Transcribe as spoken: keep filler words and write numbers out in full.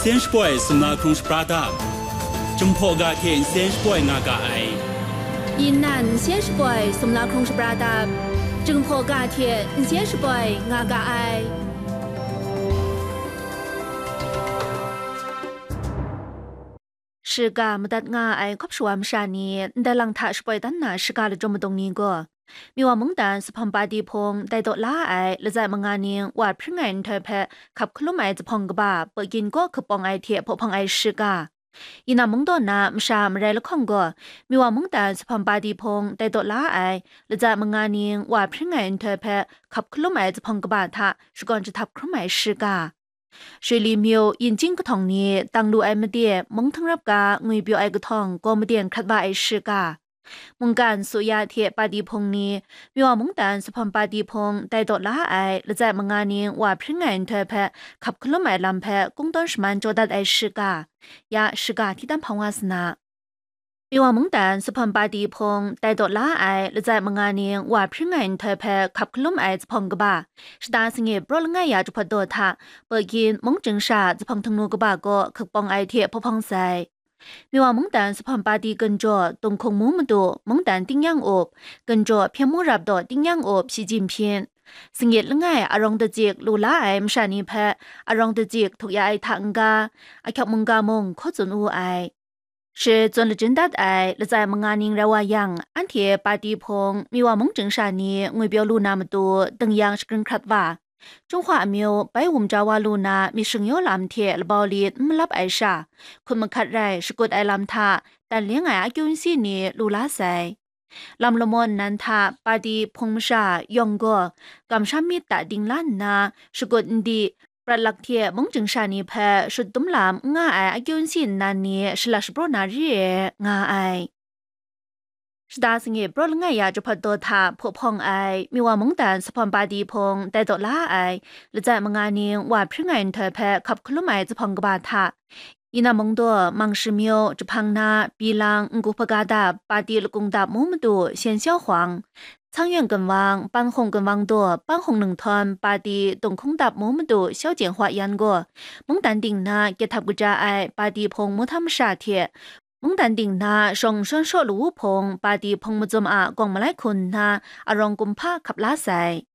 Nsen shapoi sumla hkrung shapra dap, Jinghpaw ga hte nsen shapoi nga ga ai. Yin nan nsen shapoi sumla hkrung shapra dap, Jinghpaw ga hte nsen shapoi nga ga ai. Shiga madat nga ai hkawp shawa masha ni ndai lang hta shapoi dan na shiga lachyum madung ni gaw, Miwa mungdan Supham Padi hpung dai daw la ai latsai manga ning wa hpring ai nhtoi hpe hkap hkalum ai zuphpawng kaba Pawgin kaw hkapawng ai hte hpawhpawng ai shiga. Yinam mungdaw na masha marai lahkawng gaw, Miwa mungdan Supham Padi hpung dai daw la ai latsai manga ning wa hpring ai nhtoi hpe hkap hkalum ai zuphpawng kaba hta shakawn jahtab hkrum ai shiga. Shili myu yin chying kahtawng ni tang lu ai made mung htangrap ga ngwi pyaw ai kahtawng gaw maden hkrat wa ai shiga. Mungkan Suya hte Padi hpung ni, Miwa mungdan Supham Padi hpung dai daw la ai latsai manga ning wa hpring ai nhtoi hpe hkap hkalum ai lam hpe kungdawn shaman jaw dat ai shiga. Ya shiga hti tam hpang wa sa na. Miwa mungdan Supham Padi hpung dai daw la ai latsai manga ning wa hpring ai nhtoi hpe hkap hkalum ai zuphpawng kaba, shata sangit praw langai ya jahpawt daw hta, Pawgin mung chying sha zuphpawng htingnu kaba gaw hkapawng ai hte hpawhpawng sai. Miwa mungdan Supham Padi gunjaw Tunghkung mu madu mungdan tingnyang up, gunjaw Hpyen mu rap daw tingnyang up Shi Jinpyin, sangit langai arawng dacik lu la ai masha ni hpe arawng dacik htuk ya ai hta n-ga, ahkyawk mungga mung hkaw tsun wu ai. Shi tsun lachyum dat ai latsai manga ning rai wa yang, anhte Padi hpung Miwa mung chying sha ni ngwi pyaw lu na matu dingyang shagrin hkrat wa, Jinghpaw amyu bai wum ja wa lu na myit shingyaw lam hte labau li n malap ai sha, hkut mahkat rai shakut ai lam hta dan leng ai akyu nsi ni lu la sai. Lam lamaw nnan hta Padi hpung masha yawng gaw kamsham myit ta dingla nna, shakut n di, prat lak hte mung chying sha ni hpe shut dum lam n nga ai akyu nsi nnan ni shalat shapraw na re ai, nga ai. Shata sangit praw langai ya jahpawt daw hta hpawhpawng ai Miwa mungdan Supham Padi hpung dai daw la ai latsai manga ning wa hpring ai nhtoi hpe hkap hkalum ai zuphpawng kaba hta, Yinam mungdaw, Mangshi myu, Jahpang na, Bilang, Ngu hpaga dap, Padi lakung dap mu madu Shen Xiaohuang, Cangyon gunwang, Panhkung gunwang daw, Panhkung ninghtawm, Padi tunghkung dap mu madu Xiaojian Hua Yan gaw, mungdan ding na kehthap kaja ai Padi hpung mu htam masha hte, mungdan ding na shawng shawn shaw lawu hpung Padi hpung mazum a gawng malai hku nna arawng kumhpa hkap la sai.